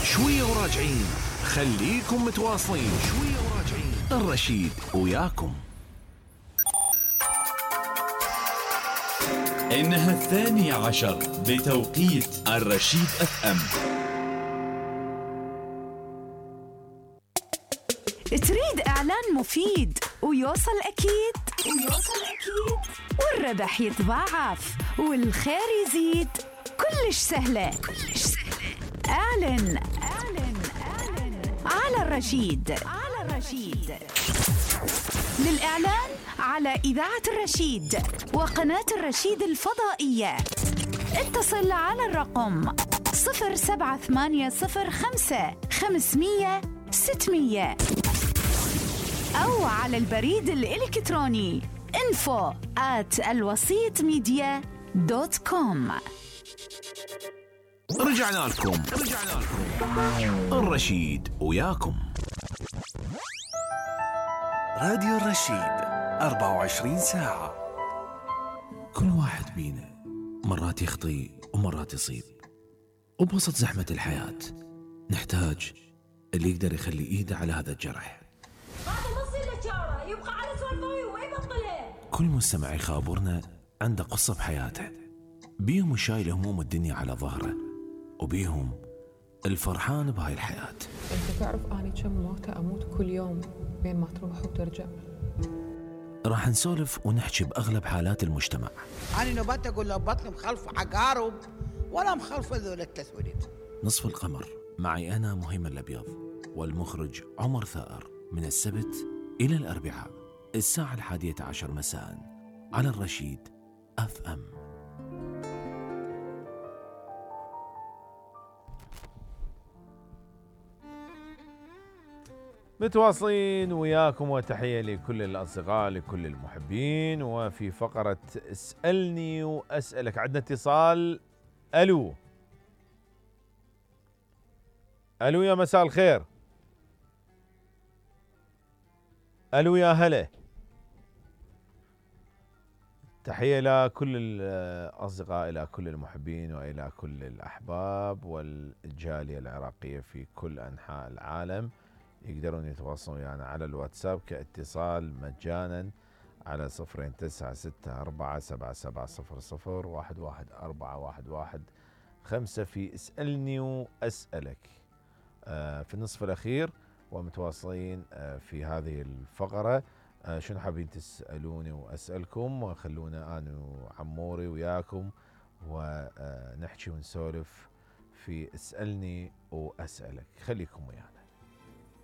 شوية وراجعين، خليكم متواصلين. شوية وراجعين، الرشيد وياكم. إنها 12 بتوقيت الرشيد FM. تريد إعلان مفيد ويوصل أكيد والربح يتضاعف والخير يزيد، كلش سهلة. اعلن على الرشيد. للإعلان على إذاعة الرشيد وقناة الرشيد الفضائية اتصل على الرقم 07805 أو على البريد الإلكتروني info@alwasitmedia.com. رجعنا لكم. الرشيد وياكم. راديو الرشيد 24 ساعة. كل واحد بينا مرات يخطي ومرات يصيب، وبوسط زحمة الحياة نحتاج اللي يقدر يخلي ايده على هذا الجرح. هذا ما يصير له شاره، يبقى على سوالفه وما يبطلها. كل مستمع يخابرنا عنده قصة بحياته، بيهم شايل هموم الدنيا على ظهره، وبيهم الفرحان بهاي الحياة. انت تعرف اني كم موتة اموت كل يوم بين ما تروح وترجع. راح نسولف ونحكي بأغلب حالات المجتمع. أنا نبات أقول له بطل مخلف عقارب ولا مخلف ذول التسوليد. نصف القمر معي أنا مهيمن الأبيض والمخرج عمر ثائر، من السبت إلى الأربعاء الساعة 11 مساء على الرشيد FM. متواصلين وياكم، وتحية لكل الأصدقاء لكل المحبين. وفي فقرة اسألني وأسألك عندنا اتصال. ألو يا مساء الخير. ألو يا هلا. تحية لكل الأصدقاء، إلى كل المحبين وإلى كل الأحباب والجالية العراقية في كل أنحاء العالم. يقدرون يتواصلون ويانا على الواتساب كاتصال مجانا على 029647700111415 في اسألني وأسألك في النصف الأخير. ومتواصلين في هذه الفقرة. شنو حابين تسألوني وأسألكم، وخلونا أنا وعموري وياكم ونحكي ونسولف في اسألني وأسألك. خليكم ويانا.